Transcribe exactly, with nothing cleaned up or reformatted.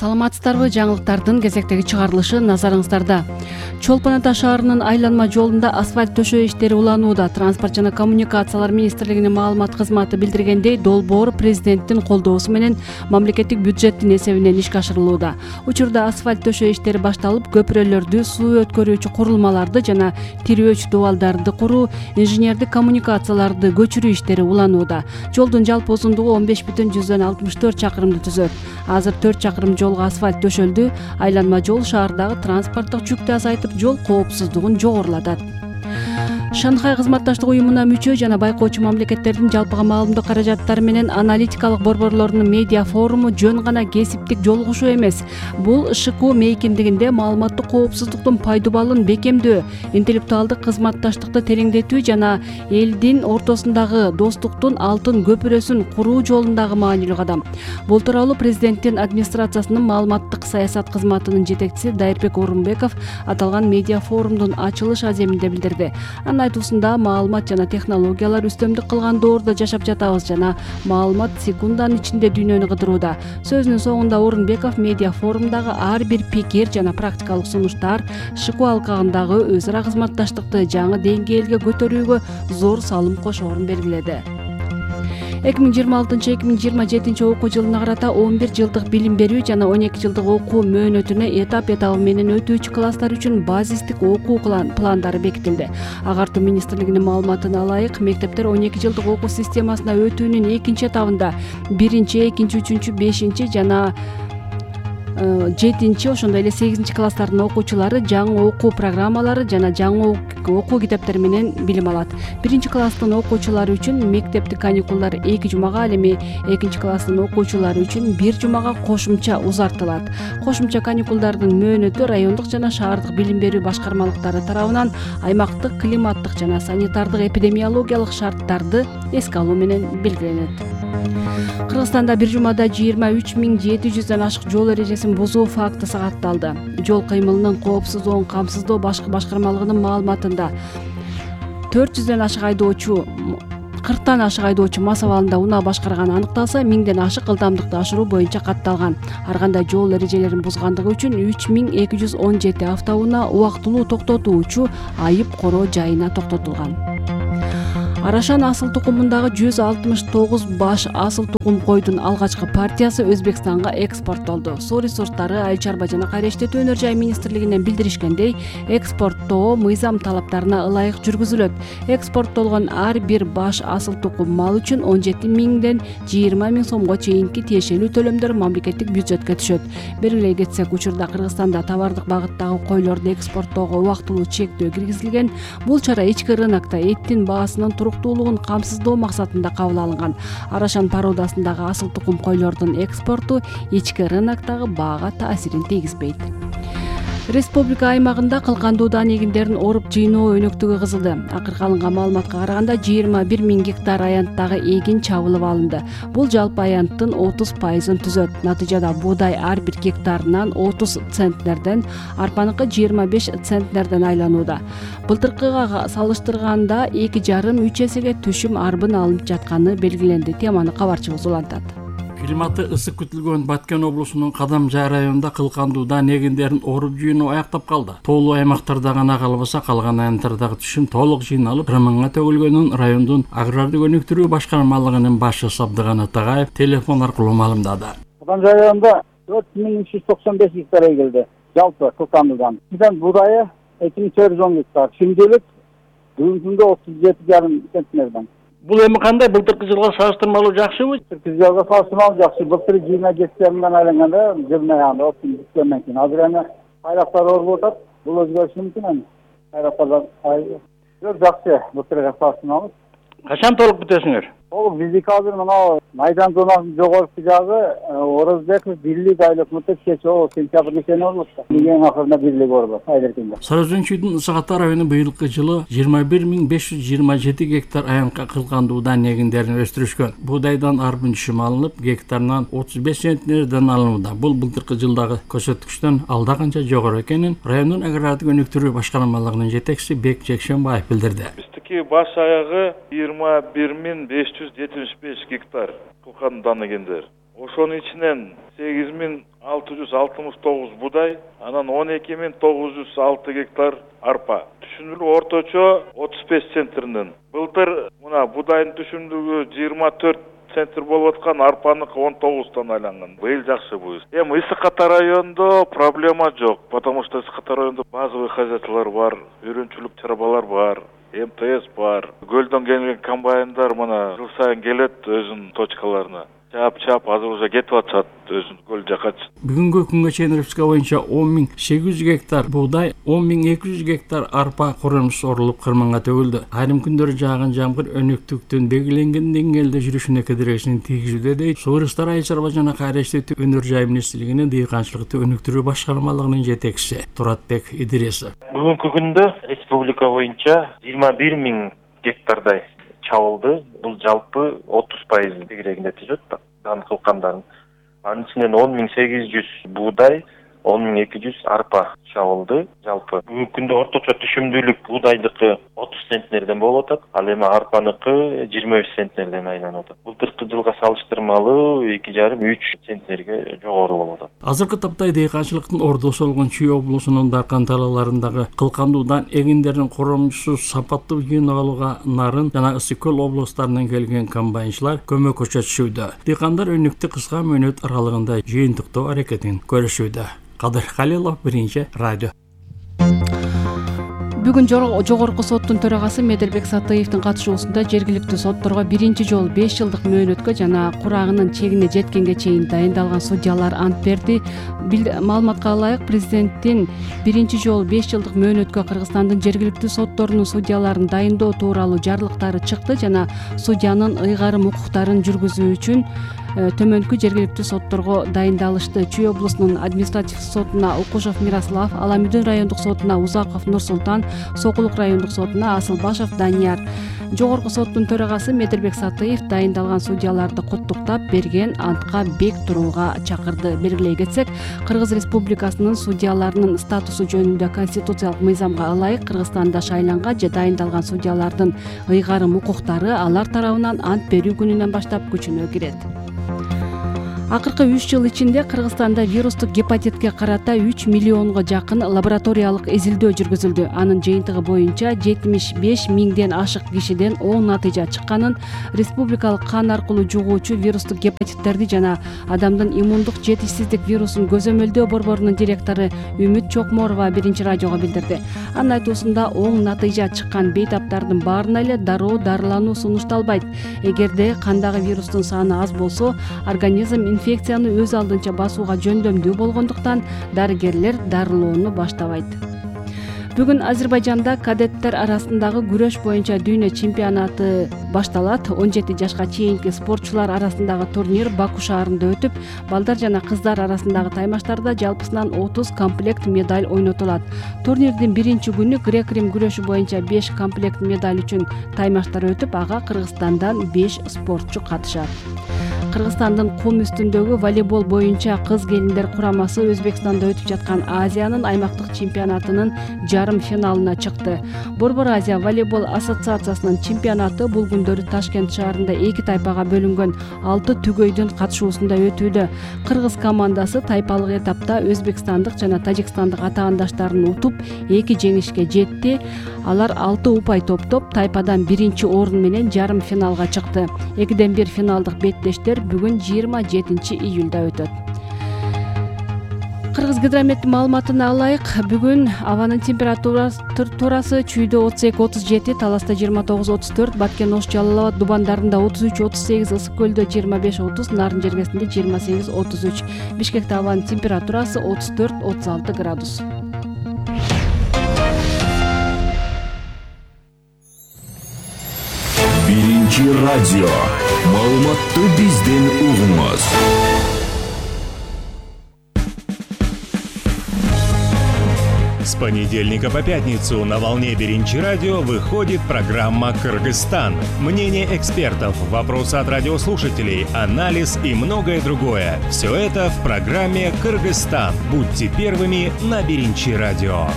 Саламатсыздарбы? Жаңылыктардын кезектеги чыгарылышы назарыңыздарда. Чолпон Ата шаарынын айланма жолунда асфальт төшөө иштери уланууда. Транспорт жана коммуникациялар министрлигинин маалымат кызматы билдиргендей, долбоор президенттин колдоосу менен мамлекеттик бюджеттин эсебинен ишке ашырылууда. Учурда асфальт төшөө иштери башталып, көпүрөлөрдү, суу өткөрүүчү курулмаларды жана тирөөч дубалдарды куруу, инженердик коммуникацияларды көчүрүү иштери уланууда. Жолдун жалпы узундугу он беш бүтүн жүздөн алтымыш төрт чакырымды түзөт. Азыр төрт чакырым жолго асфальт төшөлдү. Айланма жол шаардагы транспорттук жүктү азайтып, жол коопсуздугун жогорулатат. Шанхай кызматташтык уюмуна мүчө жана байкоочу мамлекеттердин жалпыга маалымдоо каражаттары менен аналитикалык борборлорунун медиа форуму жөн гана кесиптик жолугушуу эмес. Бул ШКУ мейкиндигинде маалыматтык коопсуздуктун пайдубалын бекемдөө, интеллектуалдык кызматташтыкты тереңдетүү жана элдин ортосундагы достуктун алтын көпүрөсүн куруу жолундагы маанилүү кадам. Бул тууралуу президенттин администрациясынын маалыматтык саясат кызматынын жетекчиси Дайырбек Орунбеков аталган медиа форумдун ачылыш аземинде билдирди. Айтуусунда маалымат жана технологиялар үстөмдүк кылган доордо жашап жатабыз жана маалымат секунданын ичинде дүйнөнү кыдырууда. Сөзүнүн соңунда Орунбеков медиа форумдагы ар бир пикир жана практикалык сунуштар ШКУ алкагындагы өз ара кызматташтыкты жаңы деңгээлге көтөрүүгө зор салым кошоорун белгиледи. эки миң жыйырма алтынчы эки миң жыйырма жетинчи окуу жылына карата он бир жылдык билим берүү жана он эки жылдык окуу мөөнөтүнө этап этабы менен өтүүчү класстар үчүн базистик окуу пландары бекитилди. Агартуу министрлигинин маалыматына ылайык, мектептер он эки жылдык окуу системасына өтүүнүн экинчи этабында биринчи, экинчи, үчүнчү, бешинчи жана жетинчи, ошондой эле сегизинчи класстардын окуучулары жаңы окуу программалары жана жаңы окуу китептери менен билим алат. Биринчи класстын окуучулары үчүн мектептик каникулдар эки жумага, ал эми экинчи класстын окуучулары үчүн бир жумага кошумча узартылат. Кошумча каникулдардын мөөнөтү райондук жана шаардык билим берүү башкармалыктары тарабынан аймактык климаттык жана санитардык эпидемиологиялык шарттарды эске алуу менен белгиленет. Кыргызстанда бир жумада жыйырма үч миң жети жүздөн ашык жол эрежесин бузуу факты сагатталды. Жол кыймылынын коопсуздугун камсыздоо башкы башкармалыгынын маалыматында төрт жүздөн ашык айдоочу кырктан ашык айдоочу мас абалында унаа башкарганы аныкталса, миңден ашык ылдамдыкты ашыруу боюнча катталган. Ар кандай жол эрежелерин бузгандыгы үчүн үч миң эки жүз он жети автоунаа убактылуу токтотуучу айып короо жайына токтотулган. Арашан асыл тукумундагы жүз алтымыш тогуз баш асыл тукум койдун алгачкы партиясы Өзбекстанга экспорттолду. Суу ресурстары, айыл чарба жана кайра иштетүү өнөр жай министрлигинен билдиришкендей, экспорттоо мыйзам талаптарына ылайык жүргүзүлөт. Экспорттолгон ар бир баш асыл тукум мал үчүн он жети миңден жыйырма миң сомго чейинки тиешелүү төлөмдөр мамлекеттик бюджетке түшөт. Белгилей кетсек, учурда Кыргызстанда товардык багыттагы койлорду экспорттоого убактылуу чектөө киргизилген. Бул чара ички рынокто эттин баасынын туруктуулугун камсыздоо максатында кабыл алынган. Арашан породасындагы асыл тукум койлордун экспорту ички рыноктогу баага таасирин тийгизбейт. Республика аймагында кылкандуу эгиндерин оруп жыйноо өнөктүгү кызылды. Акыркы алынган маалыматка караганда жыйырма бир миң гектар аянттагы эгин чабылып алынды. Бул жалпы аянттын отуз пайызын түзөт. Натыйжада буудай ар бир гектарынан отуз центнерден, арпаныкы жыйырма беш центнерден айланууда. Былтыркыга салыштырганда эки жарым үч эсеге түшүм арбын алынып жатканы белгиленди. Теманы кабарчыбыз улантат. Климаты ысык күтүлгөн Баткен облусунун Кадамжай районунда кылкандууда эгиндерин оруп жыйноо аяктап калды. Тоолуу аймактарда гана калбаса, калган аянттардагы түшүм толук жыйналып, бир миңга төгүлгөнүн райондун агрардык өнүктүрүү башкармалыгынын башчысы Сабдыган Атагаев телефон аркылуу маалымдады. Кадамжай районунда төрт миң үч жүз токсон беш гектар эгилди. Жалпы кылкандуудан. Бизden будайы эки миң төрт жүз он гектар. Чимдилик бүгүнкүндө отуз жети жарым центнерден. Бул эми кандай, былтыркы жылга салыштырмалуу жакшыбы? Былтыркы жылга салыштырмалуу жакшы. Былтыр жыйырма гектарынан айланганда жылына ягында отуз гектардан кийин. Азыр эми айлактар оруп атат. Бул өзгөрүшү мүмкүн эми. Айлактарда жок жакшы. Былтырга салыштырмалуу. Качан толук бүтөсүңөр? Толук биздики азыр мына майдан зонасынын жогорку жагы Орозбеков бирлик айлык мыты кечээ сентябрь кечени болот. Эң акырында бирлик болот айлыкында. Сарыөзөнчүдүн Ысык Ата району быйылкы жылы жыйырма бир миң беш жүз жыйырма жети гектар аянтка кылкандуудан эгиндерин өстүрүшкөн. Будайдан арбын түшүм алынып, гектарынан отуз беш центнерден алынууда. Бул былтыркы жылдагы көрсөткүчтөн алда канча жогору экенин райондун агрардык өнүктүрүү башкармалыгынын жетекчиси Бек Жекшенбаев билдирди. Баш аягы жыйырма бир миң беш жүз жетимиш беш гектар кылкандуудан эгендер. Ошонун ичинен сегиз миң алты жүз алтымыш тогуз будай, анан он эки миң тогуз жүз алты гектар арпа. Түшүндүрүү орточо отуз беш центнерден. Былтыр мына будайдын түшүндүгү жыйырма төрт центр болуп аткан, арпаныкы он тогуздан айланган. Быйыл жакшы бу. Эми Ысык Ата районунда проблема жок, потому что Ысык Ата районунда базовый хозяйстволор бар, үйрөнчүлүк чарбалар бар, эм тэ эс бар. Көлдөн келген комбайндар мына жыл сайын келет өзүнүн точкаларына. Чап-чап азыр уже кетип атышат өзүнүн көл жакачы. Бүгүнкү күнгө чейин Республика боюнча он миң сегиз жүз гектар буудай, он миң эки жүз гектар арпа коронуш орулуп кырманга төгүлдү. Айрым күндөрү жааган жамгыр өнөктүктүн белгиленген деңгээлде жүрүшүнө кедергисин тийгизүүдө дейт Суу ресурстары айыл чарба жана кайраштуу өнөр жай министрлигинин дыйканчылыкты өнүктүрүү башкармалыгынын жетекчиси Туратбек Идрисов. Бүгүнкү күндө республика боюнча жыйырма бир миң гектардай чабылды. Бул жалпы отуз пайыз тегерегинде түзөт да, дан кылкандардын. Анын ичинен он миң сегиз жүз буудай, он миң эки жүз арпа чабылды жалпы. Бүгүнкү күндө орточо түшүмдүүлүк буудайдыкы отуз центнерден болуп атат, ал эми арпаныкы жыйырма беш центнерден айланып атат. Былтыркы жылга салыштырмалуу эки жарым үч центнерге жогору болуп атат. Азыркы тапта дыйканчылыктын ордосу болгон Чүй облусунун Даркан талааларындагы кылкандуудан эгиндердин коромчусу сапаттуу жыйнап алууга Нарын жана Ысык Көл облустарынан келген комбайнчылар көмөк көрсөтүшүүдө. Дыйкандар өнүктү кыска мөөнөт аралыгында жыйынтыктоо аракетин көрүшүүдө. Кадыр Халилов, Биринчи радио. Бүгүн жогорку соттун төрагасы Медербек Сатыевдин катышуусунда жергиликтүү сотторго биринчи жолу беш жылдык мөөнөткө жана курагынын чегине жеткенге чейин дайындалган судьялар ант берди. Маалыматка ылайык, президенттин биринчи жолу беш жылдык мөөнөткө Кыргызстандын жергиликтүү сотторунун судьяларын дайындоо тууралуу жарлыктары чыкты жана судьянын ыйгарым укуктарын жүргүзүү үчүн төмөнкү жергиликтүү сотторго дайындалышты. Чүй облусунун административдик сотуна Укушев Мирослав, Аламүдүн райондук сотуна Узаков Нурсултан, Сокулук райондук сотуна Асылбашев Данияр. Жогорку соттун төрагасы Медербек Сатыев дайындалган судьяларды куттуктап, берген антка бек турууга чакырды. Белгилей кетсек, Кыргыз Республикасынын судьяларынын статусу жөнүндө конституциялык мыйзамга ылайык Кыргызстанда шайланган же дайындалган судьялардын ыйгарым укуктары алар тарабынан ант берүү күнүнөн баштап күчүнө кирет. Акыркы үч жыл ичинде Кыргызстанда вирустук гепатитке карата үч миллионго жакын лабораториялык изилдөө жүргүзүлдү. Анын жыйынтыгы боюнча жетимиш беш миңден ашык кишиден оң натыйжа чыкканын, республикалык кан аркылуу жугуучу вирустук гепатиттерди жана адамдын иммундук жетишсиздик вирусун көзөмөлдөө борборунун директору Үмүт Чокморова Биринчи радиого билдирди. Анын айтуусунда оң натыйжа чыккан бейтаптардын баарына эле дароо дарылануу сунушталбайт. Эгерде кандагы вирустун саны аз болсо, организм инфекцияны өз алдынча басууга жөндөмдүү болгондуктан дарыгерлер дарылоону баштабайт. Бүгүн Азербайжанда кадеттер арасындагы күрөш боюнча дүйнө чемпионаты башталат. он жети жашка чейинки спортчулар арасындагы турнир Баку шаарында өтүп, балдар жана кыздар арасындагы таймаштарда жалпысынан отуз комплект медаль ойнотулат. Турнирдин биринчи күнү грек-рим күрөшү боюнча беш комплект медаль үчүн таймаштар өтүп, ага Кыргызстандан беш спортчу катышат. Кыргызстандын кум үстүндөгү волейбол боюнча кыз келиндер курамасы Өзбекстанда өтүп жаткан Азиянын аймактык чемпионатынын жарым финалына чыкты. Борбор Азия волейбол ассоциациясынын чемпионаты бул күндөрү Ташкент шаарында эки тайпага бөлүнгөн алты түгөйдүн катышуусунда өтүүдө. Кыргыз командасы тайпалык этапта өзбекстандык жана тажикстандык атаандаштарын утуп, эки жеңишке жетти. Алар алты упай топтоп, тайпадан биринчи орун менен жарым финалга чыкты. Экиден бир финалдык беттештер бүгүн жыйырма жетинчи июлда өтөт. Кыргыз гидрометтин маалыматына ылайык, бүгүн абанын температурасы Чүйдө отуз эки отуз жети, Таласта жыйырма тогуз отуз төрт, Баткен Ош Жалал Абад Дубандарында отуз үч отуз сегиз, Ысык Көлдө жыйырма беш отуз, Нарын жергесинде жыйырма сегиз отуз үч. Бишкекте абанын температурасы отуз төрт отуз алты градус. Биринчи радио. Маалыматты бизден угуңуз. С понедельника по пятницу на волне Биринчи радио выходит программа «Кыргызстан». Мнение экспертов, вопросы от радиослушателей, анализ и многое другое. Все это в программе «Кыргызстан». Будьте первыми на Биринчи радио.